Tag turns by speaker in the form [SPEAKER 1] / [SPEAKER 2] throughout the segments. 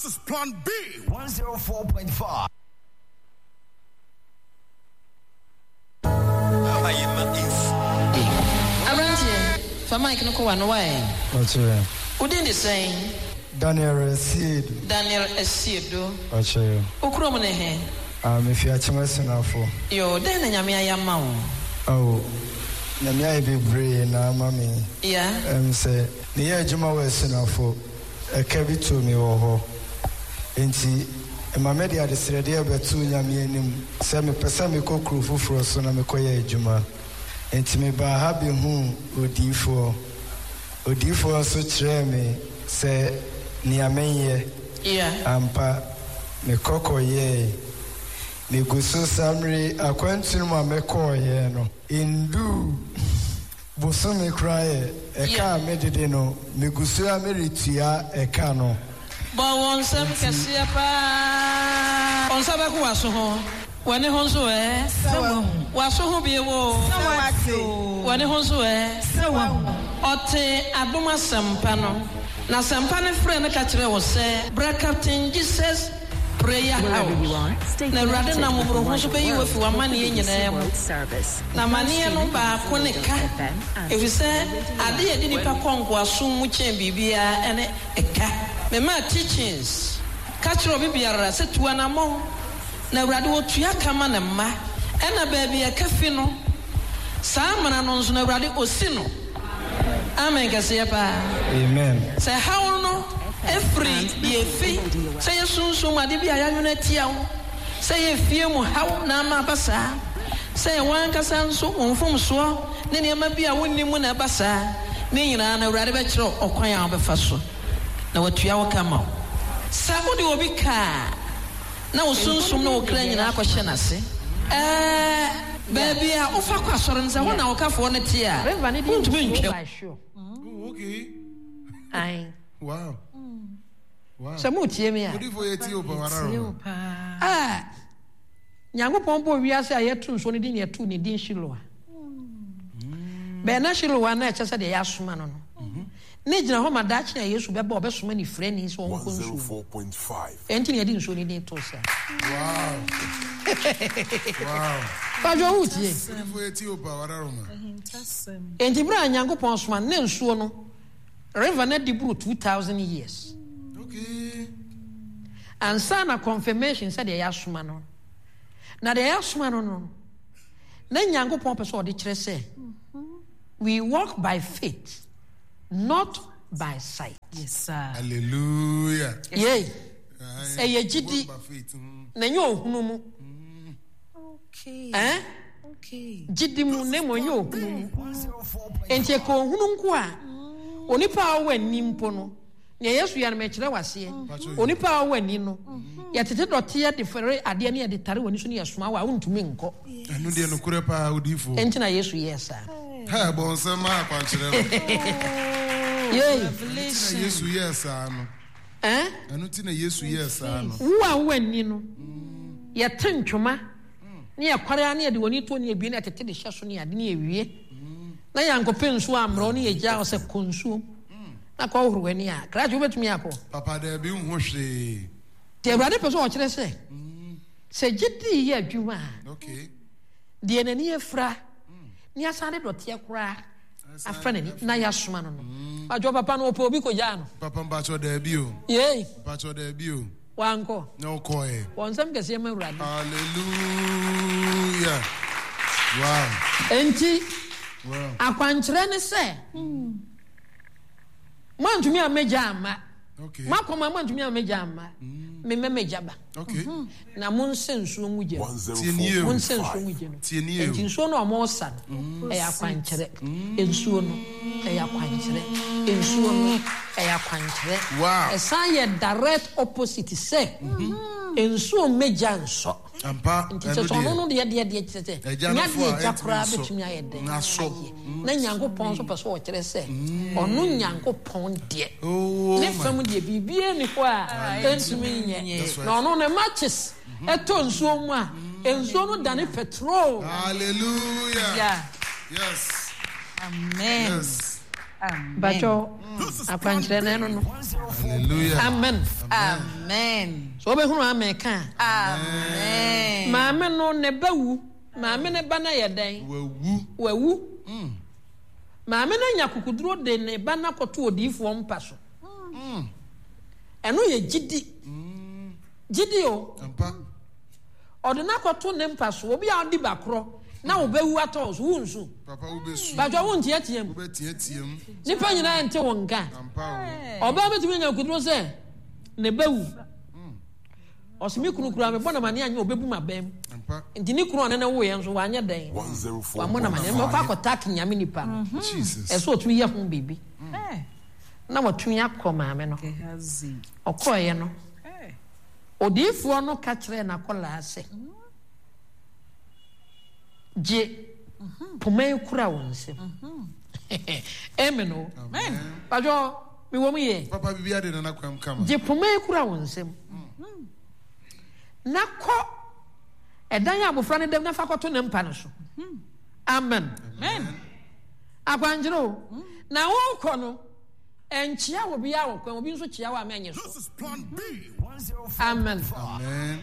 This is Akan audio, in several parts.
[SPEAKER 1] This is Plan B.
[SPEAKER 2] 104.5.
[SPEAKER 3] Aberanteɛ, fa mic no kɔ w'ano wae.
[SPEAKER 4] Ɔkyerɛ.
[SPEAKER 3] Wo din de sɛn?
[SPEAKER 4] Daniel Asiedu.
[SPEAKER 3] Daniel Asiedu.
[SPEAKER 4] Ɔkyerɛ.
[SPEAKER 3] Wo kurom ne he?
[SPEAKER 4] Ah, mefi Akyem Asunafo.
[SPEAKER 3] Yoo, dɛn na Nyame ayɛ ama wo?
[SPEAKER 4] Oh, Nyame ayɛ bebree na ama me.
[SPEAKER 3] Yeah.
[SPEAKER 4] Ɛm sɛ, meyɛ adwuma wɔ Asunafo. Ɛka bi too me wɔ hɔ. Enti ɛma mede adesrɛdeɛ bɛtoo Nyame anim sɛ mepɛ sɛ mekɔ kuro foforɔ so na mekɔyɛ adwuma. Enti mebaa ha bɛhuu odiyifoɔ. Odiyifoɔ nso kyerɛɛ me sɛ nea menyɛ. Ampa, mekɔ kɔyɛɛe. Megu so saa mmerɛ yi, akwantu no mu a mekɔeɛ no, ɛnduu. Bosome koraa yɛ ɛka a me dede no me gu so ara meretua ɛka no.
[SPEAKER 3] Bɔ wo nsam kɛseɛ paa. Wo nsa bɛko w'aso ho. W'ani ho nso ɛ.
[SPEAKER 5] Sɛ wahu.
[SPEAKER 3] W'aso ho bio o.
[SPEAKER 5] Sɛ wate o.
[SPEAKER 3] W'ani ho nso ɛ.
[SPEAKER 5] Sɛ wahu.
[SPEAKER 3] Ɔtee adom asɛmpa no. Na asɛmpa no frɛɛ no ka kyerɛɛ wo sɛ, Bra Captain Jesus Prayer House, na Awurade nam mmɔborɔhunu so bɛyi wo afi w'amanneɛ nyinaa mu. Na amanneɛ no baako ne ka, efisɛ ade a ɛde nnipa kɔ nkoasom mu kyɛn biribiara ne ɛka. Memaa teachings ka kyerɛɛ obi biara sɛ tu anammɔn, na Awurade ɔtua ka ma ne mma. Ɛna baabi a ɛka fi no, saa amena no nso no Awurade ɔsi no. Amen kɛseɛ paa.
[SPEAKER 4] Amen.
[SPEAKER 3] Sɛ haw no firi deɛ efi, sɛ yɛ sunsum mu ade bi a yɛanwene atia wo, sɛ yɛ fie mu haw na ama aba saa, sɛ yɛ w'ankasa nso wo mfomsoɔ ne nneɛma bi a wonnim mu na ɛba saa, ne nyinaa no Awurade bɛkyerɛ wo ɔkwan a wobɛfa so na watua wo ka ama wo. Sɛ wode obi ka a, na wo sunsum ne wo kra nyinaa akɔhyɛ n'ase. Ɛɛ, baabi a wofa kɔ asɔre no, sɛ ɛhɔ na wo kafoɔ no te a, wontumi ntwam. Ae. Sɛ moretie me a. A, Nyankopɔn bɔɔ wiase a yɛto nsuo no din na yɛtoo ne din Shiloa. Bɛn na Shiloa na ɛkyɛ sɛ deɛ yɛasoma no no. Ne gyina hɔ ma daakye a Yesu bɛba a ɔbɛsoma nifirani sɛ ɔnkɔ nsuo mu. Ɛnti na yɛde nsuo no din too saa. Padwo wo tie. Enti berɛ a Nyankopɔn soma no, na nsuo no, river no adi boro 2000 years. Ansa na confirmation sɛ deɛ yɛasoma no. Na deɛ yɛasoma no no, na Nyankopɔn pɛ sɛ ɔde kyerɛ sɛ We walk by faith not by sight.
[SPEAKER 5] Yes sir.
[SPEAKER 6] Hallelujah.
[SPEAKER 3] Yei, ɛyɛ gyidi na ɛnyɛ ohunu mu.
[SPEAKER 5] Okay.
[SPEAKER 3] Eh?
[SPEAKER 5] Okay.
[SPEAKER 3] Gyidi mu na mmom ɛnyɛ ohunu mu. Enti ɛka ohunu nko a, onipa a ɔwɔ ani mpo no, Nea Yesu yɛ no, mekyerɛ wo aseɛ. Onipa a ɔwɔ ani no, yɛtete dɔteɛ de fɛre adeɛ ne yɛde tare w'ani so ne yɛsoma wo a, wontumi nkɔ.
[SPEAKER 6] Ɛno deɛ nokorɛ paa, odiyifoɔ.
[SPEAKER 3] Enti na Yesu yɛɛ saa.
[SPEAKER 6] Hɛ, bɔ nsɛm ma akwankyerɛ no.
[SPEAKER 3] Yei.
[SPEAKER 6] Ɛno ti na Yesu yɛɛ saa no.
[SPEAKER 3] Eh?
[SPEAKER 6] Ɛno ti na Yesu yɛɛ saa no.
[SPEAKER 3] Wo a wowɔ ani no, yɛte ntwoma ne yɛkware a ne yɛde w'ani to ne yɛbie ne yɛtete de hyɛ so ne ade ne yɛwie. Na yɛankɔpɛ nsuo ammrɛ wo ne yɛgyaa wo sɛ kɔ nsuom. Na kɔ hohoro w'ani a, krakye wobɛtumi akɔ?
[SPEAKER 6] Papa daabi nhu hwee.
[SPEAKER 3] Nti Awurade pɛ sɛ ɔkyerɛ sɛ, sɛ gyedie yɛ adwuma a, deɛ n'ani afira ne asan de dɔteɛ koraa afra n'ani na yɛasoma no no. Mpakyɛ papa no ɔpɛ obi kɔgyaa no.
[SPEAKER 6] Papa mpakyɛ daabi o.
[SPEAKER 3] Yei.
[SPEAKER 6] Mpakyɛ daabi o.
[SPEAKER 3] Wankɔ.
[SPEAKER 6] Na ɔkɔɛ.
[SPEAKER 3] Wɔ nsɛm kɛseɛ ma Awurade.
[SPEAKER 6] Hallelujah. Wow.
[SPEAKER 3] Enti,
[SPEAKER 6] wow.
[SPEAKER 3] Akwankyerɛ ne sɛ, Moantumi ammɛgya amma. Moakɔ ma moantumi ammɛgya amma. Memmɛ mɛgya ba. Na monsɛ nsuo ngu gya mu. Monsɛ nsuo ngu gya mu. Enti nsuo no a wɔresa no, ɛyɛ akwankyerɛ. Nsuo no, ɛyɛ akwankyerɛ. Nsuo no, ɛyɛ akwankyerɛ. Ɛsan yɛ direct opposite sɛ nsuo mmɛgya nsɔ.
[SPEAKER 6] Ampa,
[SPEAKER 3] Nti
[SPEAKER 6] ɛno
[SPEAKER 3] kyerɛ sɛ ɔno
[SPEAKER 6] deɛ.
[SPEAKER 3] no deɛ deɛ deɛ kyerɛ sɛ
[SPEAKER 6] Agya no
[SPEAKER 3] nya
[SPEAKER 6] fo
[SPEAKER 3] deɛ
[SPEAKER 6] a
[SPEAKER 3] agya
[SPEAKER 6] ɛntumi
[SPEAKER 3] koraa
[SPEAKER 6] nsɔ.
[SPEAKER 3] bɛtumi ayɛ dɛn
[SPEAKER 6] N'asɔ.
[SPEAKER 3] ayɛ na Nyankopɔn nso pɛ sɛ ɔkyerɛ sɛ ɔno Nyankopɔn deɛ
[SPEAKER 6] Oh
[SPEAKER 3] ne
[SPEAKER 6] my.
[SPEAKER 3] fam deɛ biribiara nni hɔ a ɛntumi nyɛ
[SPEAKER 6] That's right.
[SPEAKER 3] na ɔno ne matches ɛtɔ nsuo mu a nsuo no dane petrol.
[SPEAKER 6] Hallelujah.
[SPEAKER 3] Yeah.
[SPEAKER 6] Yes.
[SPEAKER 5] Amen.
[SPEAKER 6] Yes.
[SPEAKER 3] Mpakyɛw, akwankyerɛ no ɛno no.
[SPEAKER 6] Hallelujah.
[SPEAKER 3] Amen.
[SPEAKER 5] Amen.
[SPEAKER 3] So wobɛhunu amen ka a.
[SPEAKER 5] Amen.
[SPEAKER 3] Maame no ne ba wu. Maame ne ba no yɛ dɛn?
[SPEAKER 6] Wawu.
[SPEAKER 3] Wawu. Maame no anya kukuduro de ne ba no akɔto odiyifoɔ mpa so. Ɛno yɛ gyidi. Gyidi o.
[SPEAKER 6] Ampa.
[SPEAKER 3] Ɔde no akɔto ne mpa so. Obi a ɔdi ba korɔ na wobɛwu atɔ wo so, wonsu.
[SPEAKER 6] Papa wobɛsu.
[SPEAKER 3] Bàtwa wonteatea mu.
[SPEAKER 6] Wobɛteatea mu.
[SPEAKER 3] Nipa nyinaa nte wo nka.
[SPEAKER 6] Ampa o.
[SPEAKER 3] Ɔbaa bɛtumi anya kuduro sɛ ne ba wu. Ɔse me kunu koraa mebɔ no amaneɛ anyɛ ɔbɛbu m'abam.
[SPEAKER 6] Ampa.
[SPEAKER 3] Nti ne kunu a ɔne no woeɛ nso wanyɛ dɛn? Wammɔ no amaneɛ. Ɔkɔ akɔtak nyame nipa no.
[SPEAKER 6] Jesus.
[SPEAKER 3] Ɛsɛ ɔtumi yɛ ho biribi. Na watumi akɔ maame no hɔ. Ɔkɔeɛ no, odiyifoɔ no ka kyerɛɛ n'akwadaa sɛ, Gye poma yi kura wo nsam. Amen o. Padwo, mewɔ mu yie.
[SPEAKER 6] Papa bibi ade nana kwam kama.
[SPEAKER 3] Gye poma yi kura wo nsam. Na kɔ ɛdan a abofra no dam na fa kɔto ne mpa no so. Amen. Akwankyerɛ o. Na wokɔ no, ɛnkyea obiara wɔ kwan, obi nso kyea wo a mɛnye so. Amen.
[SPEAKER 6] Amen.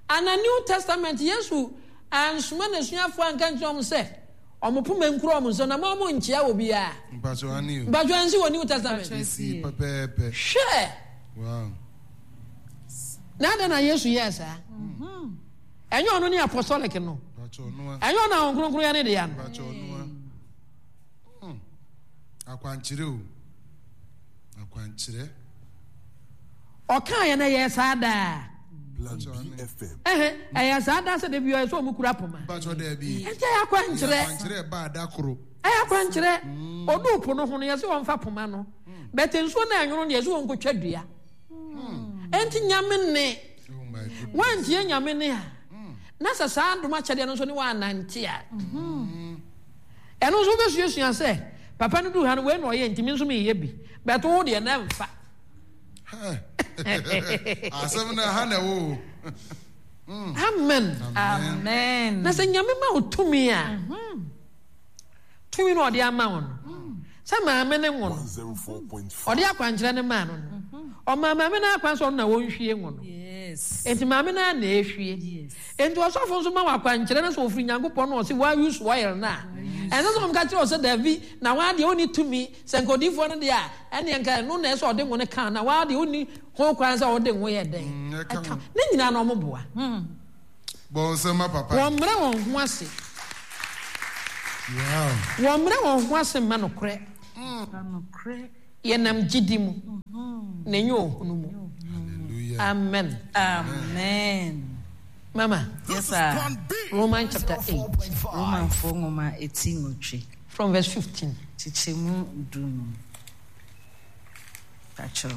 [SPEAKER 3] Ana New Testament Yesu ansoma n'asuafoɔ anka nkyerɛ wɔn sɛ wɔn poma nkura wɔn nsam na ma wɔn nkyea obiara?
[SPEAKER 6] Mpatsɔ ani o.
[SPEAKER 3] Mpatsɔ ansi wɔ New Testament.
[SPEAKER 6] Esi pɛpɛɛpɛ.
[SPEAKER 3] Hwɛ.
[SPEAKER 6] Wow.
[SPEAKER 3] Na adɛn na Yesu yɛɛ saa? Ɛnyɛ ɔno ne apostolic no.
[SPEAKER 6] Mpatsɔ ɔnoa.
[SPEAKER 3] Ɛnyɛ ɔno a Honhom Kronkron yɛ ne dea no.
[SPEAKER 6] Mpatsɔ ɔnoa. Hmm. Akwankyerɛ o. Akwankyerɛ.
[SPEAKER 3] Ɔkaa yɛ na ɛyɛɛ saa daa.
[SPEAKER 6] Plan B FM.
[SPEAKER 3] Ɛhɛ, ɛyɛ saa daa sɛ da bi ɔyɛ sɛ ɔmo kura poma.
[SPEAKER 6] Mpatsɔ daabi.
[SPEAKER 3] Ɛnti ɛyɛ akwankyerɛ.
[SPEAKER 6] Akwankyerɛ ɛbaa da koro.
[SPEAKER 3] Ɛyɛ akwankyerɛ. Ɔduu po no ho no, yɛse wɔmfa poma no. But nsuo no a ɛnwono no, yɛse wɔnkɔtwa dua. Ɛnti Nyame nne.
[SPEAKER 6] Oh my goodness.
[SPEAKER 3] Woantie Nyame nne a, na sɛ saa adom akyɛdeɛ no nso ne woannante a, ɛno nso wobɛsuasua sɛ, papa no duu ha no, wei na ɔyɛ nti me nso meyɛ bi. But wo deɛ na ɛmfa.
[SPEAKER 6] Asɛm no ha na ɛwɔ o.
[SPEAKER 3] Amen.
[SPEAKER 5] Amen.
[SPEAKER 3] Na sɛ Nyame ma wo tumi a, tumi no ɔde ama wo no, sɛ maame ne ngo no, ɔde akwankyerɛ no maa no no, ɔmaa maame no akwan sɛ ɔno na wɔnhwie ngo no. Enti maame no ara na ɛhwie. Enti ɔsɔfo nso ma wo akwankyerɛ no sɛ ɔfiri Nyankopɔn na ɔse wa use oil no a, ɛnsɛ sɛ ɔmka kyerɛ wo sɛ dabi, na waa deɛ wonni tumi, sɛ nka odiyifoɔ no deɛ a, ɛneɛ nka ɛno na ɛsɛ ɔde ngo no ka na waa deɛ wonni ho kwan sɛ ɔde ngo yɛ dɛn ɛka. Ne nyinaa na ɔmo boa.
[SPEAKER 6] Bɔ nsɛm ma papa.
[SPEAKER 3] Wɔmmrɛ wɔn ho ase.
[SPEAKER 6] Wow.
[SPEAKER 3] Wɔmmrɛ wɔn ho ase mma nokorɛ. Yɛnam gyidi mu, na ɛnyɛ ohunu mu.
[SPEAKER 6] Hallelujah.
[SPEAKER 3] Amen.
[SPEAKER 5] Amen.
[SPEAKER 3] Mama.
[SPEAKER 5] Yes, sir.
[SPEAKER 3] Romans chapter 8.
[SPEAKER 5] Romanfoɔ nwoma eti nwɔtwe.
[SPEAKER 3] From verse 15.
[SPEAKER 5] Kyekyɛmu 15. Pakyɛw.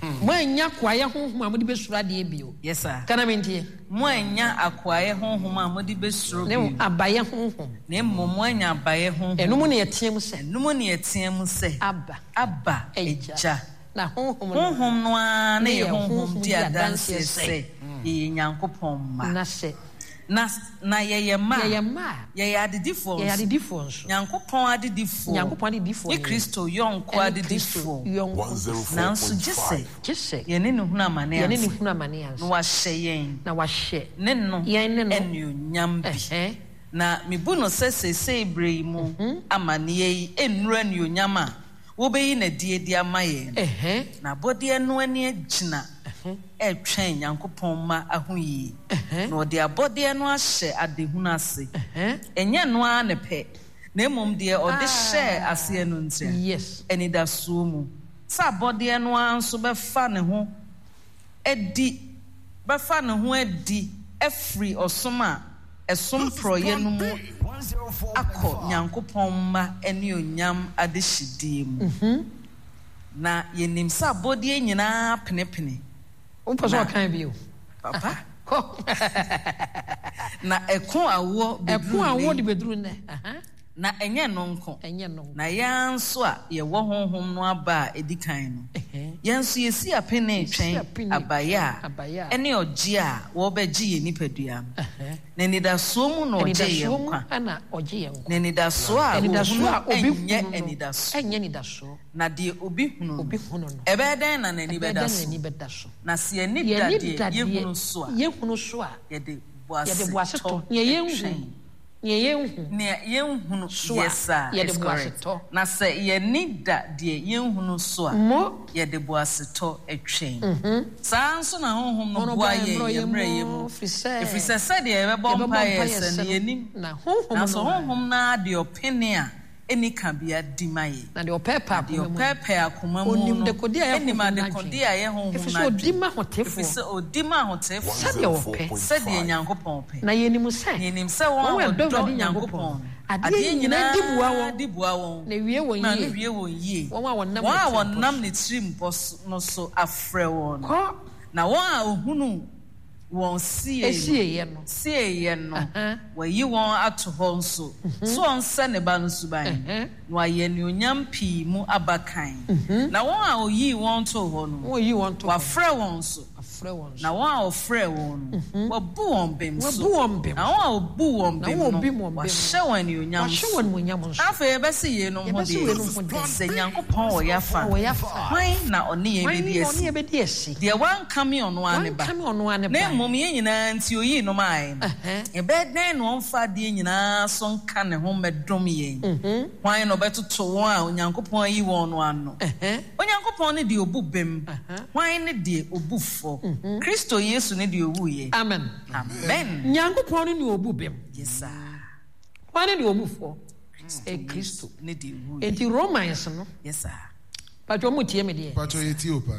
[SPEAKER 3] Moannya akoayɛ honhom a mode bɛsuro adeɛ bio.
[SPEAKER 5] Yes, sir.
[SPEAKER 3] Ka na mentie.
[SPEAKER 5] Moannya akoayɛ honhom a mode bɛsuro
[SPEAKER 3] Ne
[SPEAKER 5] bio.
[SPEAKER 3] abayɛ honhom.
[SPEAKER 5] Na mmom moanya abayɛ honhom.
[SPEAKER 3] Ɛno mu na yɛteam sɛ.
[SPEAKER 5] Ɛno mu na yɛteam sɛ.
[SPEAKER 3] Abba.
[SPEAKER 5] Abba, Agya.
[SPEAKER 3] Na honhom no.
[SPEAKER 5] Honhom no ara ne
[SPEAKER 3] Ne
[SPEAKER 5] yɛn
[SPEAKER 3] yɛn
[SPEAKER 5] honhom
[SPEAKER 3] honhom
[SPEAKER 5] di
[SPEAKER 3] di
[SPEAKER 5] adanseɛ
[SPEAKER 3] adanseɛ
[SPEAKER 5] sɛ
[SPEAKER 3] sɛ.
[SPEAKER 5] yɛyɛ Nyankopɔn mma.
[SPEAKER 3] Na sɛ.
[SPEAKER 5] Na, na yɛyɛ mma a.
[SPEAKER 3] Yɛyɛ mma a.
[SPEAKER 5] Yɛyɛ adedifoɔ
[SPEAKER 3] Yɛyɛ
[SPEAKER 5] nso.
[SPEAKER 3] adedifoɔ nso.
[SPEAKER 5] Nyankopɔn adedifoɔ.
[SPEAKER 3] Nyankopɔn adedifoɔ
[SPEAKER 5] Ne
[SPEAKER 3] ne yɛn.
[SPEAKER 5] Kristo yɔnko
[SPEAKER 3] Ɛne Kristo
[SPEAKER 5] adedifoɔ.
[SPEAKER 3] yɔnko.
[SPEAKER 5] Nanso gye sɛ.
[SPEAKER 3] Gye sɛ.
[SPEAKER 5] Yɛne no hunu amane
[SPEAKER 3] Yɛne no
[SPEAKER 5] ansa.
[SPEAKER 3] hunu amane ansa.
[SPEAKER 5] Na wahyɛ yɛn.
[SPEAKER 3] Na wahyɛ.
[SPEAKER 5] Ne no.
[SPEAKER 3] Yɛn ne no.
[SPEAKER 5] Anuonyam bi.
[SPEAKER 3] Ɛhɛn.
[SPEAKER 5] Na mebu no sɛ seesei berɛ yi mu amaneɛ yi nnuru anuonyam a wobeyi no adi de ama yɛn no. Na abɔdeɛ no ani agyina retwɛn Nyankopɔn mma ahoyie, na ɔde abɔdeɛ no ahyɛ adehunu ase, ɛnyɛ ɛno ara ne pɛ, na mmom deɛ ɔde hyɛɛ aseɛ no ntira, anidasoɔ mu, sɛ abɔdeɛ no ara nso bɛfa ne ho adi bɛfa ne ho adi afiri ɔsom a ɛsom porɔeɛ no mu akɔ Nyankopɔn mma anuonyam adehyedie mu. Na yɛnim sɛ abɔdeɛ nyina ara penepene,
[SPEAKER 3] Wopɛ sɛ
[SPEAKER 5] na.
[SPEAKER 3] ɔkan bio?
[SPEAKER 5] Papa.
[SPEAKER 3] Kɔ.
[SPEAKER 5] Na ɛko awoɔ
[SPEAKER 3] Ɛko
[SPEAKER 5] bɛduru nnɛ
[SPEAKER 3] awoɔ de
[SPEAKER 5] yi.
[SPEAKER 3] bɛduru nnɛ. Aha.
[SPEAKER 5] Na ɛnyɛ ɛno nko,
[SPEAKER 3] Ɛnyɛ ɛno nko.
[SPEAKER 5] na yɛn ara nso a yɛwɔ Honhom no aba a ɛdi kan no,
[SPEAKER 3] Ɛhɛn.
[SPEAKER 5] Yɛn nso yɛsi apene
[SPEAKER 3] Yɛsi
[SPEAKER 5] retwɛn
[SPEAKER 3] apene
[SPEAKER 5] abaeɛ a
[SPEAKER 3] abaeɛ a
[SPEAKER 5] ɛne ɔgyeɛ a wɔrebɛgye yɛn nipadua no. Na anidasoɔ mu na ɔgye yɛn
[SPEAKER 3] Anidasoɔ mu
[SPEAKER 5] nkwa.
[SPEAKER 3] na ɔgye yɛn nkwa.
[SPEAKER 5] Na anidasoɔ a
[SPEAKER 3] Anidasoɔ
[SPEAKER 5] wɔhunu
[SPEAKER 3] a obi
[SPEAKER 5] nyɛ
[SPEAKER 3] hunu no
[SPEAKER 5] anidasoɔ.
[SPEAKER 3] nyɛ anidasoɔ.
[SPEAKER 5] Na deɛ obi hunu no,
[SPEAKER 3] Obi hunu no,
[SPEAKER 5] ɛbɛyɛ dɛn na n'ani
[SPEAKER 3] ɛbɛyɛ
[SPEAKER 5] bɛda
[SPEAKER 3] dɛn na
[SPEAKER 5] so?
[SPEAKER 3] n'ani bɛda so?
[SPEAKER 5] Na sɛ yɛn ani
[SPEAKER 3] Yɛn
[SPEAKER 5] da
[SPEAKER 3] ani
[SPEAKER 5] deɛ
[SPEAKER 3] da deɛ
[SPEAKER 5] yɛhunu so a,
[SPEAKER 3] yɛhunu so a,
[SPEAKER 5] yɛde
[SPEAKER 3] yɛde
[SPEAKER 5] boasetɔ
[SPEAKER 3] boasetɔ, nea yɛnhu,
[SPEAKER 5] twɛn.
[SPEAKER 3] nea yɛnhu
[SPEAKER 5] Nea yɛnhunu,
[SPEAKER 3] so a,
[SPEAKER 5] yes sir,
[SPEAKER 3] yɛde
[SPEAKER 5] it's correct.
[SPEAKER 3] boasetɔ.
[SPEAKER 5] Na sɛ yɛn ani da deɛ yɛnhunu so a,
[SPEAKER 3] Mo.
[SPEAKER 5] yɛde boasetɔ twɛn. Saa ara nso na Honhom no
[SPEAKER 3] Honhom
[SPEAKER 5] boa
[SPEAKER 3] boa
[SPEAKER 5] yɛn
[SPEAKER 3] yɛn
[SPEAKER 5] yɛn
[SPEAKER 3] mmerɛyɛ
[SPEAKER 5] mmerɛyɛ
[SPEAKER 3] mu,
[SPEAKER 5] mu,
[SPEAKER 3] ɛfiri sɛ
[SPEAKER 5] ɛfiri sɛ sɛdeɛ yɛbɛbɔ
[SPEAKER 3] yɛbɛbɔ
[SPEAKER 5] mpaeɛ
[SPEAKER 3] mpaeɛ
[SPEAKER 5] sɛ
[SPEAKER 3] sɛ
[SPEAKER 5] no,
[SPEAKER 3] no,
[SPEAKER 5] yɛnnim.
[SPEAKER 3] na Honhom
[SPEAKER 5] Nanso
[SPEAKER 3] no ara.
[SPEAKER 5] Honhom no ara deɛ ɔpene a ɛnni kabea di ma yɛn.
[SPEAKER 3] Na deɛ ɔpɛɛpɛɛ
[SPEAKER 5] Na deɛ
[SPEAKER 3] akoma mu no,
[SPEAKER 5] ɔpɛɛpɛɛ akoma mu
[SPEAKER 3] ɔnim
[SPEAKER 5] no
[SPEAKER 3] dekode a ɛyɛ
[SPEAKER 5] nim
[SPEAKER 3] Honhom no
[SPEAKER 5] adekode
[SPEAKER 3] adwene,
[SPEAKER 5] a ɛyɛ Honhom
[SPEAKER 3] ɛfiri
[SPEAKER 5] no
[SPEAKER 3] sɛ ɔdi
[SPEAKER 5] adwene,
[SPEAKER 3] ma
[SPEAKER 5] ɛfiri
[SPEAKER 3] ahotefoɔ
[SPEAKER 5] sɛ ɔdi ma ahotefoɔ
[SPEAKER 3] sɛdeɛ ɔpɛ.
[SPEAKER 5] sɛdeɛ Nyankopɔn pɛ.
[SPEAKER 3] Na yɛnim sɛ
[SPEAKER 5] Na yɛnim sɛ wɔn
[SPEAKER 3] wɔn
[SPEAKER 5] a
[SPEAKER 3] a wɔdɔ
[SPEAKER 5] wɔdɔ
[SPEAKER 3] Awurade
[SPEAKER 5] Nyankopɔn
[SPEAKER 3] Nyankopɔn
[SPEAKER 5] no,
[SPEAKER 3] no, adeɛ
[SPEAKER 5] adeɛ
[SPEAKER 3] nyinaa di boa
[SPEAKER 5] nyinaa
[SPEAKER 3] wɔn
[SPEAKER 5] di boa wɔn
[SPEAKER 3] na ɛwie wɔn
[SPEAKER 5] ma no
[SPEAKER 3] yie,
[SPEAKER 5] wie wɔn yie,
[SPEAKER 3] wɔn a wɔnam
[SPEAKER 5] wɔn
[SPEAKER 3] ne
[SPEAKER 5] a
[SPEAKER 3] tirimpɔ
[SPEAKER 5] wɔnam
[SPEAKER 3] so.
[SPEAKER 5] ne tirimpɔ no so afrɛ wɔn no.
[SPEAKER 3] Kɔ.
[SPEAKER 5] Na wɔn a ɔhunu wɔn
[SPEAKER 3] Sieeɛ no.
[SPEAKER 5] Sieeɛ no, wayi wɔn ato hɔ nso, sɛ wɔnsɛ ne Ba no suban, na wɔayɛ anuonyam pii mu abakan. Na wɔn a ɔyii wɔn too hɔ no, wafrɛ wɔn nso, na wɔn a ɔfrɛɛ wɔn no, wabu wɔn bem nso, na wɔn a ɔbuu wɔn bem no, wahyɛ wɔn anuonyam nso. Na afei yɛbɛse yeinom ho deɛn? Sɛ Nyankopɔn wɔ yɛn afa a, hwan na ɔne yɛn bɛdi asi? Deɛ wankame ɔno ara ne Ba, na mmom yɛn nyinaa nti ɔyii no maeɛ no, ɛbɛyɛ dɛn na ɔmfa adeɛ nyinaa so nka ne ho mmɛdom yɛn? Hwan na ɔbɛtoto wɔn a Onyankopɔn ayi wɔn no ano? Onyankopɔn ne deɛ ɔbu bem, hwan ne deɛ ɔbu fɔ? Kristo Yesu ne deɛ ɔwuiɛ.
[SPEAKER 3] Amen.
[SPEAKER 5] Amen.
[SPEAKER 3] Nyankopɔn ne deɛ ɔbu bem.
[SPEAKER 5] Yes, sir.
[SPEAKER 3] Hwan ne deɛ ɔbu fɔ? Kristo.
[SPEAKER 5] Ne deɛ ɔwuiɛ.
[SPEAKER 3] Enti Romans no.
[SPEAKER 5] Yes, sir.
[SPEAKER 3] Patro mo tie me deɛ.
[SPEAKER 6] Patro yɛ tie o paa.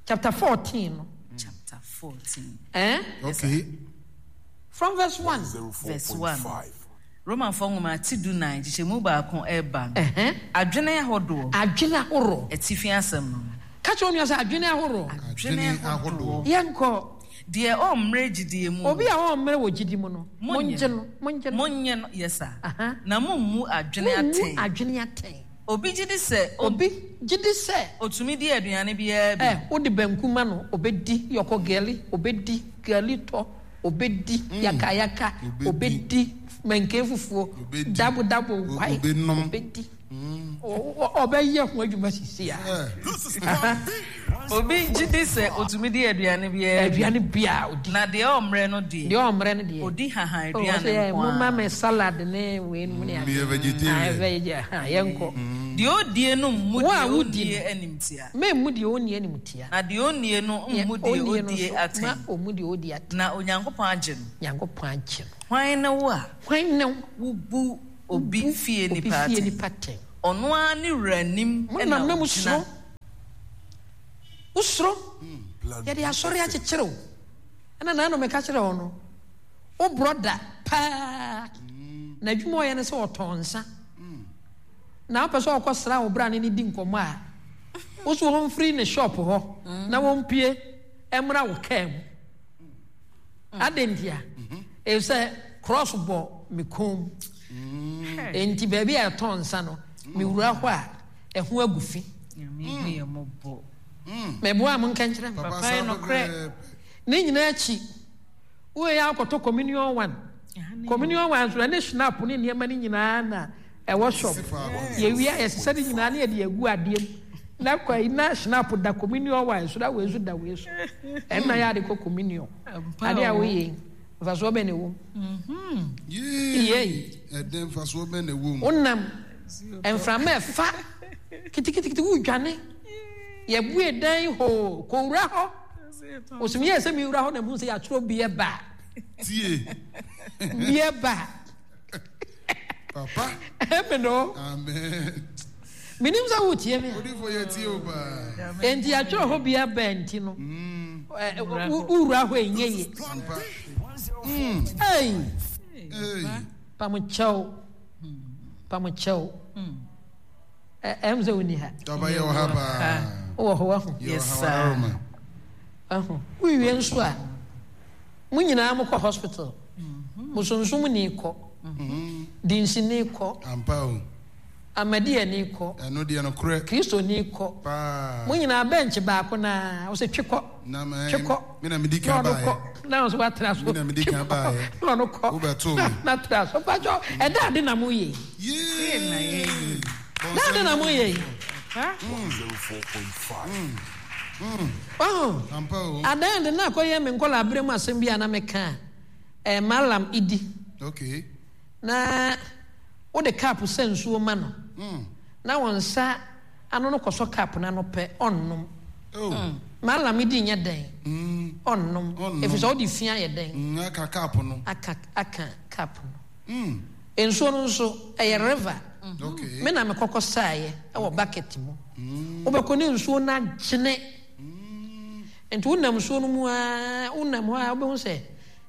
[SPEAKER 3] Chapter 14 no.
[SPEAKER 5] Chapter 14.
[SPEAKER 3] Eh?
[SPEAKER 6] Okay.
[SPEAKER 3] From verse 1.
[SPEAKER 5] Verse 1. Romanfoɔ nwoma ti 14 nkyekyɛmu 1 ɛreba no. Adwene ahodoɔ.
[SPEAKER 3] Adwene ahoroɔ.
[SPEAKER 5] Atifi asɛm no.
[SPEAKER 3] Ka kyerɛ onua sɛ adwene ahoroɔ.
[SPEAKER 6] Adwene ahodoɔ.
[SPEAKER 3] Yɛnkɔ.
[SPEAKER 5] Deɛ ɔmmrɛ gyidie mu no.
[SPEAKER 3] Obi a ɔmmrɛ wɔ gyidi mu no. Monnye no. Monnye no.
[SPEAKER 5] Monnye no. Yes sir. Na mommu adwene atɛn.
[SPEAKER 3] Mommu adwene atɛn.
[SPEAKER 5] Obi gye di sɛ.
[SPEAKER 3] Obi gye di sɛ.
[SPEAKER 5] Otumi di aduane biara bi.
[SPEAKER 3] Ɛ, wode banku ma no, obedi, yɔkɔ gari, obedi, gari tɔ, obedi, yakayaka, obedi, mankee fufuo, dabo dabo nkwae, obedi. Ɔbɛyɛ ho adwuma sisi a.
[SPEAKER 5] Obi gye di sɛ otumi di aduane biara bi.
[SPEAKER 3] Aduane biara odi.
[SPEAKER 5] Na deɛ ɔmmrɛ no deɛ.
[SPEAKER 3] Deɛ ɔmmrɛ no deɛ.
[SPEAKER 5] Odi hahan aduane nko ara.
[SPEAKER 3] Momma me salad ne wei nom ne adeɛ.
[SPEAKER 6] Meyɛ vegetarian.
[SPEAKER 3] Yɛnkɔ.
[SPEAKER 5] Deɛ ɔdie no mmu deɛ ɔnnie animtia.
[SPEAKER 3] Memmu deɛ ɔnnie animtia.
[SPEAKER 5] Na deɛ ɔnnie no mmu deɛ ɔdie atɛn.
[SPEAKER 3] Ma ɔmmu deɛ ɔdie atɛn.
[SPEAKER 5] Na Onyankopɔn agye no.
[SPEAKER 3] Nyankopɔn agye no.
[SPEAKER 5] Hwan ne wo a.
[SPEAKER 3] Hwan ne wo.
[SPEAKER 5] Wobu obi fie nipa atɛn. Ɔno ara ne wura nim na ɔgyina.
[SPEAKER 3] Wosuro. Yɛde asɔre akyekyere wo. Ɛna naano meka kyerɛ wo no, wo brɔda paa, n'adwuma ɔyɛ ne sɛ ɔtɔn nsa. Na wopɛ sɛ ɔkɔ sra wo bra ne ne di nkɔmmɔ a, wo so wɔmfiri ne shop hɔ na wɔmpue mmra wo kaa mu. Adɛn ntia? Efisɛ cross bɔ me kɔn mu. Enti baabi a yɛtɔn nsa no, mewura hɔ a, ɛho agu fi. Meboa a monka nkyerɛ me.
[SPEAKER 6] Papa yɛ nokorɛ.
[SPEAKER 3] Ne nyinaa akyi, woyɛ akɔtɔ communion one. Communion one nso ɛne schnapp ne nneɛma no nyinaa na ɛwɔ shop. Yɛwie a yɛsesa ne nyinaa na yɛde agu adeɛ mu. Na kwa yi na schnapp da communion wine so na wei nso da wei so. Ɛnna yɛ ade kɔ communion. Ade a woyɛ yi, mfasoɔ bɛn na ɛwɔ mu?
[SPEAKER 6] Yei. Ɛdɛn mfasoɔ bɛn na ɛwɔ mu?
[SPEAKER 3] Wonam mframa ɛfa kitikiti wodwane. Yɛbue dan hoo kɔwura hɔ. Osum yɛ sɛ mewura hɔ na mehu sɛ yɛatwerɛ beer bar.
[SPEAKER 6] Tie.
[SPEAKER 3] Beer bar.
[SPEAKER 6] Papa.
[SPEAKER 3] Amen o.
[SPEAKER 6] Amen.
[SPEAKER 3] Menim sɛ wotie me.
[SPEAKER 6] Odifo yɛ tie o paa.
[SPEAKER 3] Enti yɛatwerɛ hɔ beer bar nti no. Wowura hɔ ɛnyɛ yie. Ei. Pamokyɛw. Pamokyɛw. Ɛm sɛ wonni ha.
[SPEAKER 6] Daba yɛ wɔ ha paa.
[SPEAKER 3] Wowɔ hɔ wahu.
[SPEAKER 5] Yes sir.
[SPEAKER 3] Wahu. Wowie nso a, mo nyinaa mokɔ hospital. Bosonsom ni kɔ. Dinsini kɔ.
[SPEAKER 6] Ampa o.
[SPEAKER 3] Ahmadiyani kɔ.
[SPEAKER 6] Ɛno deɛ nokorɛ.
[SPEAKER 3] Kristoni kɔ.
[SPEAKER 6] Paa.
[SPEAKER 3] Mo nyinaa bɛnkye baako no ara, wosɛ twe kɔ.
[SPEAKER 6] Na mɛ,
[SPEAKER 3] Twe kɔ.
[SPEAKER 6] me na medi
[SPEAKER 3] Na
[SPEAKER 6] kan
[SPEAKER 3] ɔno
[SPEAKER 6] baeɛ.
[SPEAKER 3] kɔ. Na ɔno nso watra so.
[SPEAKER 6] Me na medi
[SPEAKER 3] Twe
[SPEAKER 6] kan
[SPEAKER 3] kɔ.
[SPEAKER 6] baeɛ.
[SPEAKER 3] Na ɔno kɔ.
[SPEAKER 6] Wobɛtoo
[SPEAKER 3] Na
[SPEAKER 6] me.
[SPEAKER 3] na tra so. Mpakyɛ, ɛda ade na moyɛ yi.
[SPEAKER 6] Yee!
[SPEAKER 3] Da ade na moyɛ yi. Wahu?
[SPEAKER 6] Ampa o.
[SPEAKER 3] Adan de na akɔyɛ me nkɔla abere mu asɛm bi a na meka a, eh, Mallam Idi.
[SPEAKER 6] Okay.
[SPEAKER 3] Na wode cup sɛ nsuo ma no, na wo nsa ano no kɔsɔ cup no ano pɛ, ɔnnom.
[SPEAKER 6] Oh.
[SPEAKER 3] Mallam Idi nyɛ dɛn? Ɔnnom.
[SPEAKER 6] Ɔnnom.
[SPEAKER 3] Ɛfiri sɛ wode fi ayɛ dɛn?
[SPEAKER 6] Aka cup no.
[SPEAKER 3] Aka cup no. Nsuo no nso, ɛyɛ river.
[SPEAKER 6] Okay.
[SPEAKER 3] Me na mekɔkɔ saeɛ wɔ bucket mu. Wobɛkɔ ne nsuo no agyene. Nti wonam nsuo no mu ara, wonam hɔ a wobɛhu sɛ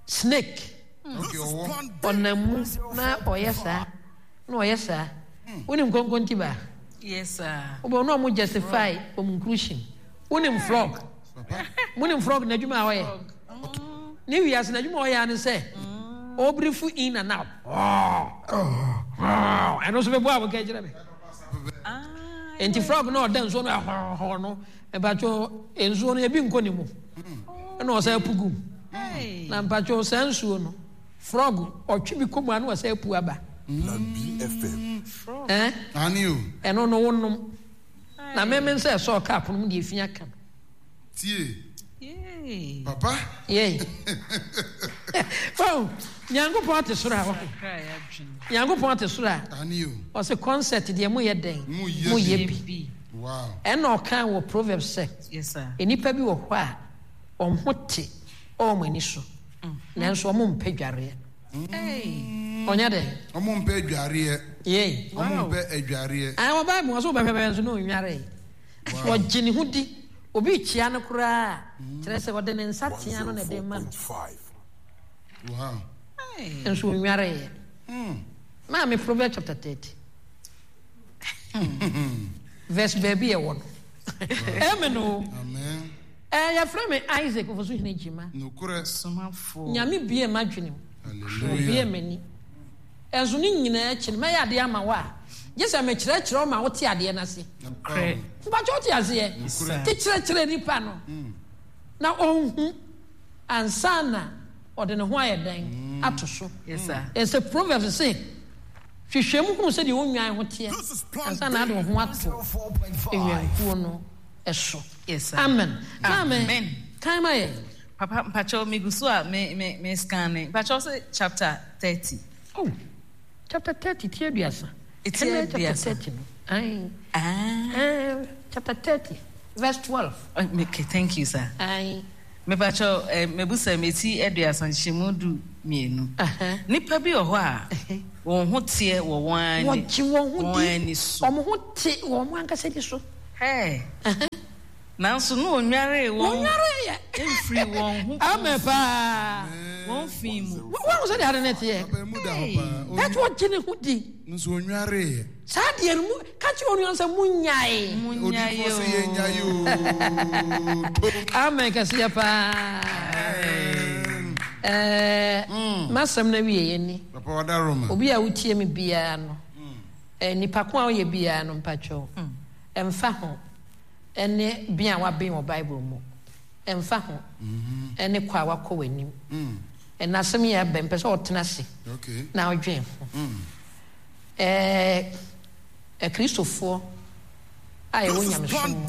[SPEAKER 3] snake.
[SPEAKER 6] Okay, ɔwɔ.
[SPEAKER 3] Ɔnam mu na ɔyɛ saa, na ɔyɛ saa. Wonim konkonti baa?
[SPEAKER 5] Yes, sir.
[SPEAKER 3] Wobɛhu na ɔmo justify wɔn inclusion. Wonim frog? Monim frog n'adwuma a ɔyɛ? Ne wiase n'adwuma a ɔyɛ ara ne sɛ ɔbrifo in and out. Ɛno nso bɛbɔ a wɔka kyerɛ me. Nti frog na ɔda nsuo no ɛhɔhɔ no, mpatwo nsuo no ebi nkɔ ne mu. Ɛna ɔsɛ apu gu mu. Na mpatwo saa nsuo no, frog ɔtwe bi kɔ mu a na ɔsɛ apu aba. Eh?
[SPEAKER 6] Ani o.
[SPEAKER 3] Ɛno no wonom. Na meme nsa ɛsɔɔ cup no mu deɛ efi aka no.
[SPEAKER 6] Tie. Papa.
[SPEAKER 3] Yei. Oh, Nyankopɔn te soro a wahu. Nyankopɔn te soro a.
[SPEAKER 6] Ani o.
[SPEAKER 3] Ɔse concert deɛ moyɛ dɛn?
[SPEAKER 6] Moyɛ
[SPEAKER 3] bi.
[SPEAKER 6] Wow.
[SPEAKER 3] Ɛna ɔka wɔ Proverbs sɛ.
[SPEAKER 5] Yes sir.
[SPEAKER 3] Nnipa bi wɔ hɔ a wɔn ho te wɔ wɔn ani so. Nanso wɔn mpɛ dwareɛ. Ɔnyɛ dɛn?
[SPEAKER 6] Wɔn mpɛ adwareɛ.
[SPEAKER 3] Yei.
[SPEAKER 6] Wɔn mpɛ adwareɛ.
[SPEAKER 3] Ayi wɔ Bible ɔsɛ wobɛhwɛ bɛhwɛ nso na ɔnwaree. Ɔgye ne ho di. Obi rekyia no koraa a, kyerɛ sɛ ɔde ne nsa tea no na ɛde rema no.
[SPEAKER 6] Wow.
[SPEAKER 3] Nso ɔnwareeɛ. Maame Proverbs chapter 30. Verse baabi ɛwɔ no. Amen o.
[SPEAKER 6] Amen.
[SPEAKER 3] Eh, yɛfrɛ me Isaac Ofosuhene Gyima.
[SPEAKER 6] Nokorɛ.
[SPEAKER 5] Somafoɔ.
[SPEAKER 3] Nyame bue m'adwene mu.
[SPEAKER 6] Hallelujah.
[SPEAKER 3] Obue m'ani. Ɛnso ne nyinaa akyi no, mɛyɛ adeɛ ama wo a, gye sɛ mekyerɛkyerɛ wo ma wote adeɛ no ase.
[SPEAKER 5] Nokorɛ.
[SPEAKER 3] Mpakyɛ wote aseɛ?
[SPEAKER 6] Nokorɛ.
[SPEAKER 3] Te kyerɛkyerɛ nipa no na ɔnhu ansa na ɔde ne ho ayɛ dɛn ato so.
[SPEAKER 5] Yes sir.
[SPEAKER 3] Ɛsɛ Proverbs se, hwehwɛ mu hunu sɛdeɛ wo nnwan ho teɛ ansa na ade wo ho ato nnwankuo no so.
[SPEAKER 5] Yes sir.
[SPEAKER 3] Amen. Maame,
[SPEAKER 5] Amen.
[SPEAKER 3] kan ma yɛn.
[SPEAKER 5] Papa mpakyɛw megu so a me me me scanne mpakyɛw sɛ chapter 30.
[SPEAKER 3] Oh, chapter 30 ti aduasa.
[SPEAKER 5] Ti
[SPEAKER 3] Ɛnɛ chapter
[SPEAKER 5] aduasa.
[SPEAKER 3] 30 no. Aye.
[SPEAKER 5] Ah.
[SPEAKER 3] Chapter 30 verse 12.
[SPEAKER 5] Okay, thank you sir.
[SPEAKER 3] Aye.
[SPEAKER 5] Mepakyɛw eh, mebusa me ti aduasa nhyɛmu 12. Nipa bi wɔ hɔ a wɔn ho teɛ wɔ wɔn ani
[SPEAKER 3] Wɔgye wɔn ho
[SPEAKER 5] wɔn
[SPEAKER 3] di.
[SPEAKER 5] ani so.
[SPEAKER 3] Wɔn ho te wɔn ankasa ni so.
[SPEAKER 5] Hey. Nanso na ɔnnwaree wɔn.
[SPEAKER 3] Wɔnnwareeɛ.
[SPEAKER 5] Mfirii wɔn ho.
[SPEAKER 3] Amen paa.
[SPEAKER 5] Wɔn fi mu.
[SPEAKER 3] Wɔn sɛ deɛ ade no teɛ.
[SPEAKER 6] Papa emu da hɔ paa.
[SPEAKER 3] That wɔgye ne ho di.
[SPEAKER 6] Nso ɔnnwareeɛ.
[SPEAKER 3] Saa deɛ no mu ka kyerɛ onua sɛ munyae.
[SPEAKER 5] Munyae
[SPEAKER 6] Odiyifoɔ sɛ yɛnnyae
[SPEAKER 5] o.
[SPEAKER 6] oo.
[SPEAKER 3] Amen kɛseɛ paa. Ɛɛ m'asɛm no awieɛ ni.
[SPEAKER 6] Papa wada Roma.
[SPEAKER 3] Obi a wotie me biara no, nipa ko a woyɛ biara no mpakyɛw, ɛmfa ho ne ben a woaben wɔ Bible mu, ɛmfa ho ne kɔ a woakɔ w'anim. Ɛnnɛ asɛm yi abɛn, mepɛ sɛ ɔtena ase na ɔdwen ho. Ɛɛ Akristofoɔ a yɛwɔ nyamesom mu,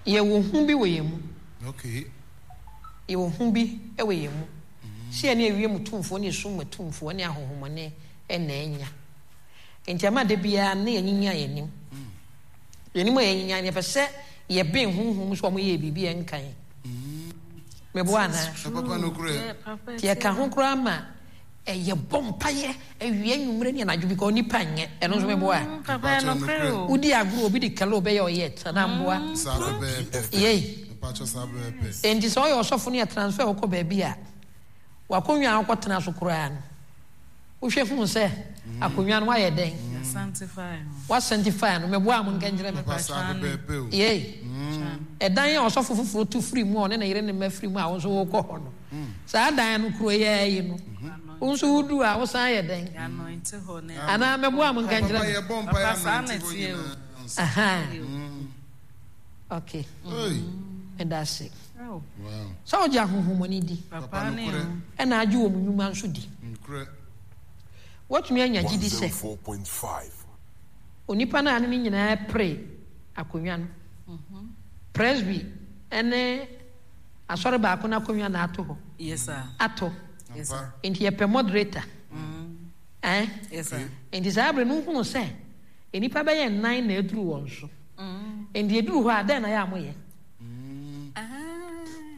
[SPEAKER 3] yɛwɔ hu bi wɔ yɛn mu. Yɛwɔ hu bi wɔ yɛn mu sɛ yɛne ewiem tumfoɔ ne esum mu atumfoɔ ne ahonhommɔne na anya. Enti ama da biara no na yɛanyinyan yɛn anim. Yɛn anim a yɛanyinyan no, yɛpɛ sɛ yɛben honhom mu sɛ wɔyɛɛ biribi a ɛnka yɛn. Meboa anaa? Nti ɛka ho koraa ma yɛbɔ mpaeɛ awia, anwummerɛ ne anadwo because nipa nyɛ. Ɛno nso meboa? Wodi agorɔ obi de kalo bɛyɛ ɔyɛ anaa mboa? Yei. Enti sɛ ɔyɛ ɔsɔfo no yɛ transfer wokɔ baabi a, wakonnwa a wokɔtena so koraa no, Wohwɛ huu sɛ akonnwa no wayɛ dɛn? Wa sanctify no. Meboa mo nka nkyerɛ me. Yei. Ɛdan a ɔsɔfo foforɔ tu firi mu a ɔne ne yere ne mma firi mu a wo nso wokɔ hɔ no. Saa dan no kuro yɛ yi no. Wo nso wodu a wosan yɛ dɛn?
[SPEAKER 5] Anointing hɔ ne.
[SPEAKER 3] Anaa mɛboa mo nka nkyerɛ
[SPEAKER 6] Papa
[SPEAKER 3] me.
[SPEAKER 6] yɛbɔ mpaeɛ
[SPEAKER 5] Papa, saa na
[SPEAKER 6] anointing hɔ
[SPEAKER 5] ɛteɛ o.
[SPEAKER 6] nyinaa ansa.
[SPEAKER 3] Aha. Okay.
[SPEAKER 6] Hey.
[SPEAKER 3] Meda ase.
[SPEAKER 5] Oh,
[SPEAKER 6] Wow.
[SPEAKER 3] Sɛ wogye ahonhommɔne di
[SPEAKER 5] papa
[SPEAKER 6] Papa
[SPEAKER 5] ne
[SPEAKER 6] nokorɛ.
[SPEAKER 5] o.
[SPEAKER 3] ɛna agye wɔn nnwuma nso di.
[SPEAKER 6] Nokorɛ.
[SPEAKER 3] Woatumi anya gyidi sɛ
[SPEAKER 2] 104.5.
[SPEAKER 3] onipa no a ne ne nyinaa pere akonnwa no, presby ne asɔre baako no akonnwa na ato hɔ.
[SPEAKER 5] Yes sir.
[SPEAKER 3] Ato.
[SPEAKER 5] Yes sir.
[SPEAKER 3] Nti yɛpɛ moderator. Eh?
[SPEAKER 5] Yes sir.
[SPEAKER 3] Nti saa bere no wohunu sɛ nnipa bɛyɛ nnan na aduru wɔn so. Nti eduru hɔ a dɛn na yɛ a moyɛ?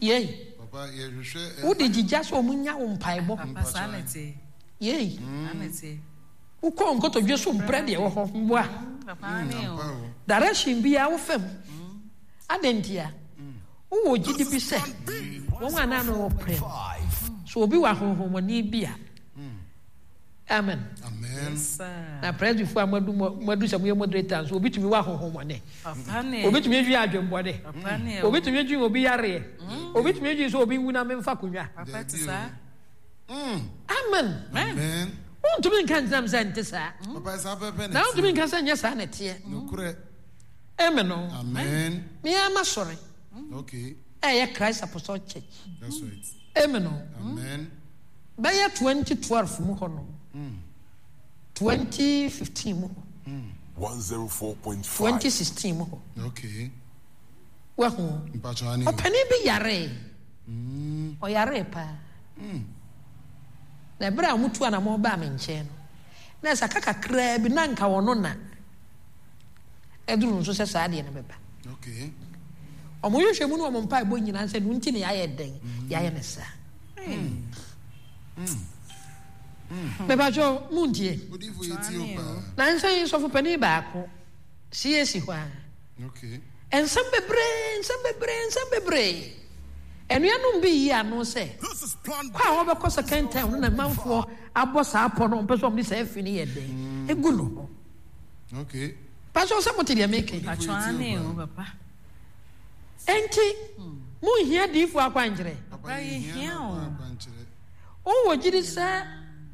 [SPEAKER 3] Yei.
[SPEAKER 6] Papa yɛhwehwɛ.
[SPEAKER 3] Wode gyigya sɛ wɔn nya wo mpaebɔ.
[SPEAKER 5] Papa saa na ɛteɛ.
[SPEAKER 3] Yei.
[SPEAKER 5] Saa na ɛteɛ.
[SPEAKER 3] Wokɔ nkotodwe so mprɛ deɛ ɛwɔ hɔ mboa.
[SPEAKER 5] Papa ne o.
[SPEAKER 3] Direction biara wo fam. Adɛn ntia? Wowɔ gyidi bi sɛ wɔn a na ano wɔ prɛ no, sɛ obi wɔ ahonhommɔne bi a, amen.
[SPEAKER 6] Amen.
[SPEAKER 3] Na presbyfoɔ a moadu moadu sɛ moyɛ moderator nso, obi tumi wɔ ahonhommɔne.
[SPEAKER 5] Papa ne.
[SPEAKER 3] Obi tumi adwene adwemmɔne.
[SPEAKER 5] Papa ne o.
[SPEAKER 3] Obi tumi adwene obi yareɛ. Obi tumi adwene sɛ obi nwu na memfa konwa.
[SPEAKER 5] Papa te saa.
[SPEAKER 3] Amen.
[SPEAKER 6] Amen.
[SPEAKER 3] Wontumi nka nkyerɛ me sɛ nte saa.
[SPEAKER 6] Papa saa pɛpɛ
[SPEAKER 3] Na
[SPEAKER 6] na
[SPEAKER 3] wontumi
[SPEAKER 6] ɛteɛ.
[SPEAKER 3] nka sɛ nyɛ saa na ɛteɛ.
[SPEAKER 6] Nokorɛ.
[SPEAKER 3] Amen o.
[SPEAKER 6] Amen.
[SPEAKER 3] Me ara m'asɔre
[SPEAKER 6] Okay.
[SPEAKER 3] ɛyɛ Christ Apostolic Church.
[SPEAKER 6] That's right.
[SPEAKER 3] Amen o.
[SPEAKER 6] Amen.
[SPEAKER 3] Bɛyɛ 2012 mu hɔ no, 2015 mu hɔ,
[SPEAKER 2] 104.5.
[SPEAKER 3] 2016 mu hɔ.
[SPEAKER 6] Okay.
[SPEAKER 3] Wahu.
[SPEAKER 6] Mpatsɔ ani o.
[SPEAKER 3] Ɔpanin bi yaree. Ɔyaree paa. Na ɛberɛ a wɔtu anamɔn baa me nkyɛn no, na ɛsɛ aka kakraa bi na anka ɔno na aduru no so sɛ saa adeɛ no bɛba.
[SPEAKER 6] Okay.
[SPEAKER 3] Wɔn nhwehwɛmu ne wɔn mpaebɔ nyinaa sɛ no nti na yɛayɛ dɛn, yɛayɛ no saa. Mepatwɛ muntie.
[SPEAKER 6] Odifo yɛ tie o paa.
[SPEAKER 3] Nansa yi sɔfo panin baako CAC hɔ a.
[SPEAKER 6] Okay.
[SPEAKER 3] Nsɛm bebree, nsɛm bebree, nsɛm bebree. Anuanom bi yi ano sɛ, kɔ a wɔbɛkɔ second term no na manfoɔ abɔ saa pɔ no, wɔmpɛ sɛ wɔde saa fi no yɛ dɛn, egu no ho.
[SPEAKER 6] Okay.
[SPEAKER 3] Pastor sɛ mote deɛ meka yi.
[SPEAKER 5] Patro ane o papa.
[SPEAKER 3] Enti monhia diifoɔ akwankyerɛ.
[SPEAKER 6] Papa yɛhia o. Akwankyerɛ.
[SPEAKER 3] Wowɔ gyidi sɛ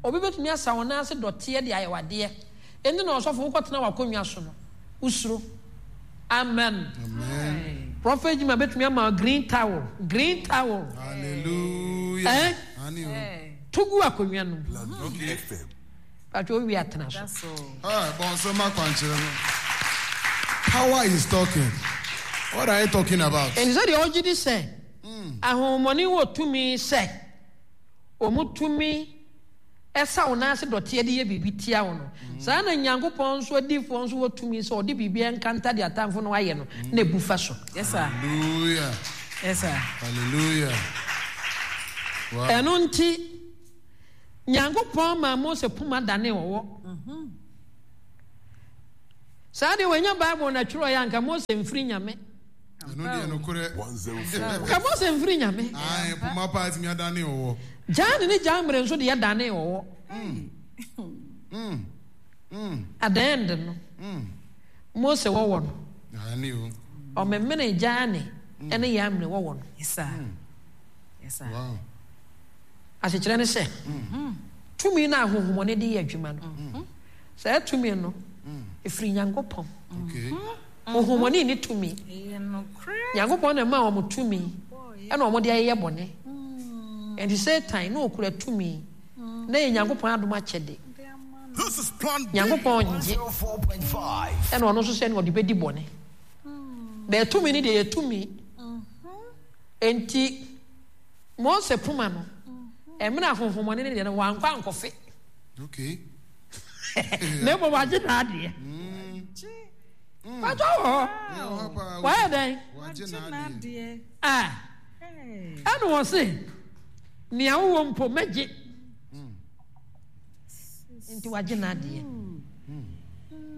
[SPEAKER 3] obi bɛtumi asa wo nan ase dɔteɛ de ayɛ w'adeɛ. Enti na ɔsɔfo wokɔtena w'akonnwa so no, wosuro. Amen.
[SPEAKER 6] Amen.
[SPEAKER 3] Prophet Jima bɛtumi ama green towel, green towel.
[SPEAKER 6] Hallelujah.
[SPEAKER 3] Eh?
[SPEAKER 6] Ane o.
[SPEAKER 3] To gu akonnwa no mu.
[SPEAKER 6] Okay.
[SPEAKER 3] Patro owie atena so.
[SPEAKER 6] Ah, bɔnsɛm akwankyerɛ no. Power is talking. What are you talking about?
[SPEAKER 3] Ɛnti sɛ deɛ ɔgye di sɛ ahonhommɔne wɔ tumi sɛ wɔn tumi ɛsa wo nan ase dɔteɛ de yɛ biribi tia wo no, saa na Nyankopɔn nso adiyifoɔ nso wɔ tumi sɛ ɔde biribi nkanta deɛ atamfo no ayɛ no na ebu fa so.
[SPEAKER 5] Yes sir.
[SPEAKER 6] Hallelujah.
[SPEAKER 5] Yes sir.
[SPEAKER 6] Hallelujah. Wow.
[SPEAKER 3] Ɛno nti Nyankopɔn maa Mose poma danee ɔwɔ. Saa deɛ wɔanya Bible na twerɛeɛ anka Mose mfiri Nyame.
[SPEAKER 6] Ɛno deɛ nokorɛ.
[SPEAKER 3] Nka Mose mfiri Nyame.
[SPEAKER 6] Ae, poma paa tumi adane ɔwɔ.
[SPEAKER 3] Jane ne Jambre nso deɛ danee ɔwɔ. At the end no, Mose wɔwɔ no.
[SPEAKER 6] Aane o.
[SPEAKER 3] Ɔmemene Jane ne Jambre wɔwɔ no.
[SPEAKER 5] Yes sir. Yes sir.
[SPEAKER 6] Wow.
[SPEAKER 3] Asekyerɛ ne sɛ, tumi no a ahonhommɔne de yɛ adwuma no, saa tumi no, ɛfiri Nyankopɔn. Honhommɔne nni tumi. Nyankopɔn na ɛma wɔn tumi ɛna wɔn de ayeyɛ bɔne. Ɛnti Satan na ɔkura tumi na ɛyɛ Nyankopɔn adom akyɛde. Nyankopɔn ngye ɛna ɔno nso sɛ ɔde bɛdi bɔne. Na tumi no deɛ yɛ tumi. Enti Mose poma no, ɛmena ahonhommɔne no deɛ no, wankɔ ankɔfe.
[SPEAKER 6] Okay.
[SPEAKER 3] Na mmom wagye n'adeɛ. Patɔ wɔ hɔ. Wayɛ dɛn?
[SPEAKER 6] Wagye n'adeɛ.
[SPEAKER 3] Ah. Ɛna wɔ se, nea wowɔ mpo mɛgye. Nti wagye n'adeɛ.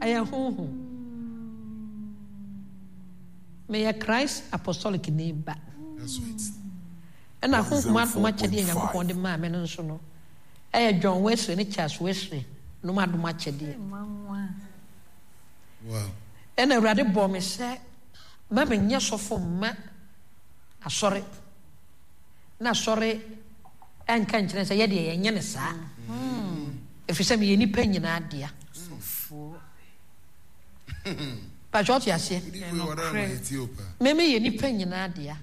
[SPEAKER 3] Ɛyɛ honhom. Meyɛ Christ Apostolic ni ba. Ɛna honhom adom akyɛdeɛ Nyankopɔn de maa me no nso no, ɛyɛ John Wesley ne Charles Wesley nom adom akyɛdeɛ. Ɛna Awurade bɔɔ me sɛ ma menyɛ sɔfo mma asɔre. Na asɔre ɛnka nkyerɛ sɛ yɛdeɛ yɛnyɛ ne saa. Ɛfiri sɛ meyɛ nnipa nyinaa dea. Patwɛ ɔte aseɛ? Me meyɛ nnipa nyinaa dea.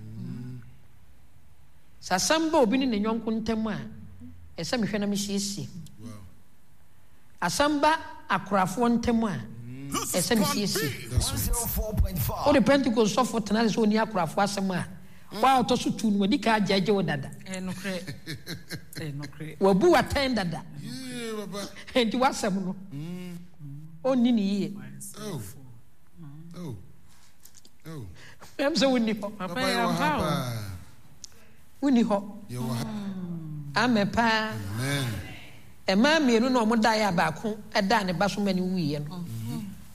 [SPEAKER 3] Sɛ asɛm ba obi ne ne yɔnko ntam a, ɛsɛ mehwɛ na mesiesie. Asɛm ba akorafoɔ ntam a, ɛsɛ mesiesie. Wode Pentecost sɔfo tena ase sɛ ɔnni akorafoɔ asɛm a, wo a ɔtɔ so tu no, wadi kan agyɛgye wo dada. Wabu wo atɛn dada. Enti w'asɛm no, ɔnni ne yie. Ɛm sɛ wonni hɔ. Wonni hɔ. Amen paa. Mmaa mmienu na wɔn daeɛ a baako daa ne ba so ma ne wuiɛ no.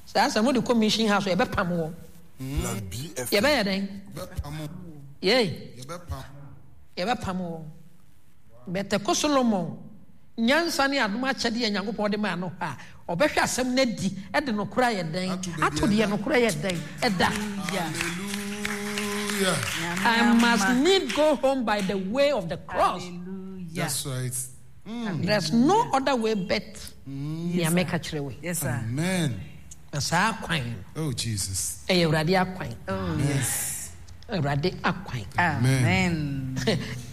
[SPEAKER 3] Saa asɛm no de kɔ mission house yɛbɛpam wɔn. Yɛbɛyɛ dɛn? Yei. Yɛbɛpam wɔn. Bɛtɛko Solomon nyansa ne adom akyɛdeɛ a Nyankopɔn de maa no hɔ a, ɔbɛhwɛ asɛm no adi de nokorɛ ayɛ dɛn? Ato deɛ nokorɛ yɛ dɛn? Ɛda.
[SPEAKER 6] Hallelujah.
[SPEAKER 3] I must need go home by the way of the cross.
[SPEAKER 5] Hallelujah.
[SPEAKER 6] That's right.
[SPEAKER 3] There's no other way but nea mɛka kyerɛ wo yi.
[SPEAKER 5] Yes, sir.
[SPEAKER 6] Amen.
[SPEAKER 3] Na saa kwan no.
[SPEAKER 6] Oh, Jesus.
[SPEAKER 3] Ɛyɛ Awurade akwan.
[SPEAKER 5] Oh, yes.
[SPEAKER 3] Awurade akwan.
[SPEAKER 5] Amen.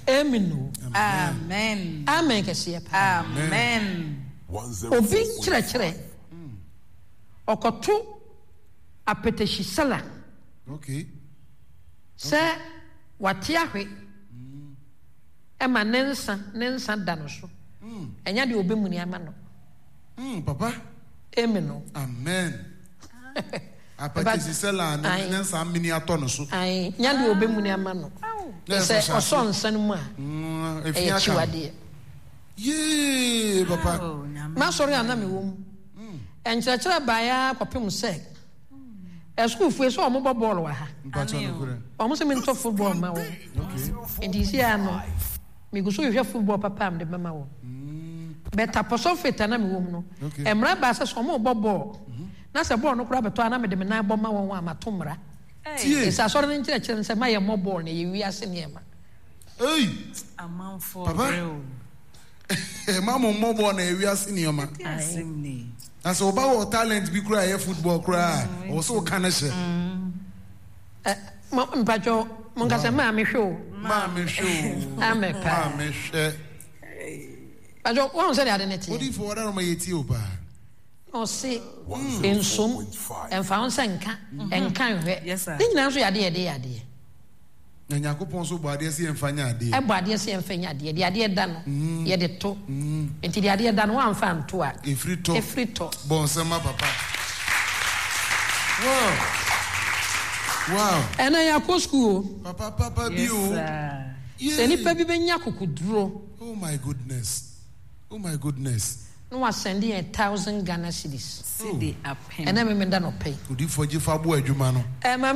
[SPEAKER 3] Amen o.
[SPEAKER 5] Amen.
[SPEAKER 3] Amen kɛseɛ paa.
[SPEAKER 5] Amen.
[SPEAKER 3] Obi nkyerɛkyerɛ ɔkɔto apɛtɛhyi sala.
[SPEAKER 6] Okay.
[SPEAKER 3] Sɛ wate ahwe ɛma ne nsa ne nsa da no so. Ɛnya deɛ ɔbɛmuni ama no.
[SPEAKER 6] Papa.
[SPEAKER 3] Amen o.
[SPEAKER 6] Amen. Apɛtɛsi sala ne ne nsa mini atɔ no so.
[SPEAKER 3] Ayi, nya deɛ ɔbɛmuni ama no. Sɛ ɔsɔ nsa no mu a, ɛyɛ akyiwadeɛ.
[SPEAKER 6] Yee, papa.
[SPEAKER 3] M'asɔre a na mewɔ mu, nkyerɛkyerɛ baeɛ ara kɔpem sɛ asukuufoɔ yi sɛ wɔbɔ bɔɔl wɔ ha. Wɔn sɛ mentɔ football mma wɔn. Nti si ara no, megu so hwehwɛ football papa a mede bɛma wɔn. But Apostle Faith a na mewɔ mu no, mmara baa sɛ sɛ wɔrebɔ bɔɔl na sɛ bɔɔl no koraa bɛtɔ a na mede me nan bɔ ma wɔn a mato mmara. Ɛsɛ asɔre no nkyerɛkyerɛ no sɛ ma yɛmmɔ bɔɔl na ɛyɛ wiase nneɛma.
[SPEAKER 6] Ei!
[SPEAKER 5] Amanfoɔ
[SPEAKER 6] Papa.
[SPEAKER 5] brɛ o.
[SPEAKER 6] Ma mo mmɔ bɔɔl na ɛyɛ wiase nneɛma.
[SPEAKER 5] Ɛde asɛm ni.
[SPEAKER 6] Na sɛ ɔba wɔ talent bi koraa a ɛyɛ football koraa a, ɔwɔ sɛ ɔka no hyɛ.
[SPEAKER 3] Ɛ, mo, mpakyɛw, monka sɛ, Maa mehwɛ o.
[SPEAKER 6] Maa mehwɛ o.
[SPEAKER 3] Amɛ paa.
[SPEAKER 6] Maa mehwɛ.
[SPEAKER 3] Mpakyɛw, woahu sɛdeɛ ade no teɛ?
[SPEAKER 6] Odifo, wɔda no ma yɛtie o paa.
[SPEAKER 3] Na ɔse, Nsom, ɛmfa ho sɛ nka, ɛnka nhwɛ.
[SPEAKER 5] Yes, sir.
[SPEAKER 3] Ne nyinaa nso yɛ adeɛ a yɛde yɛ adeɛ.
[SPEAKER 6] Na Nyankopɔn nso bɔ adeɛ sɛ yɛmfa nyɛ adeɛ.
[SPEAKER 3] Ɛbɔ adeɛ sɛ yɛmfa nyɛ adeɛ. Deɛ adeɛ da no, yɛde to. Nti deɛ adeɛ da no, woamfa anto a,
[SPEAKER 6] Ɛfiri tɔ.
[SPEAKER 3] ɛfiri tɔ.
[SPEAKER 6] Bɔ nsɛm ma papa. Wow! Wow!
[SPEAKER 3] Ɛnɛ yɛakɔ sukuu o.
[SPEAKER 6] Papa papa bi
[SPEAKER 5] Yes,
[SPEAKER 6] o.
[SPEAKER 5] sir.
[SPEAKER 6] Yay!
[SPEAKER 3] Sɛ nipa bi bɛnya akokoduro.
[SPEAKER 6] Oh my goodness. Oh my goodness.
[SPEAKER 3] Na wasɛnde yɛn 1000 Ghana cedis.
[SPEAKER 5] Cedi apem.
[SPEAKER 3] Ɛnɛ Memenda nɔpa yi.
[SPEAKER 6] Odiyifoɔ gye fa boa adwuma no.
[SPEAKER 3] Ɛma.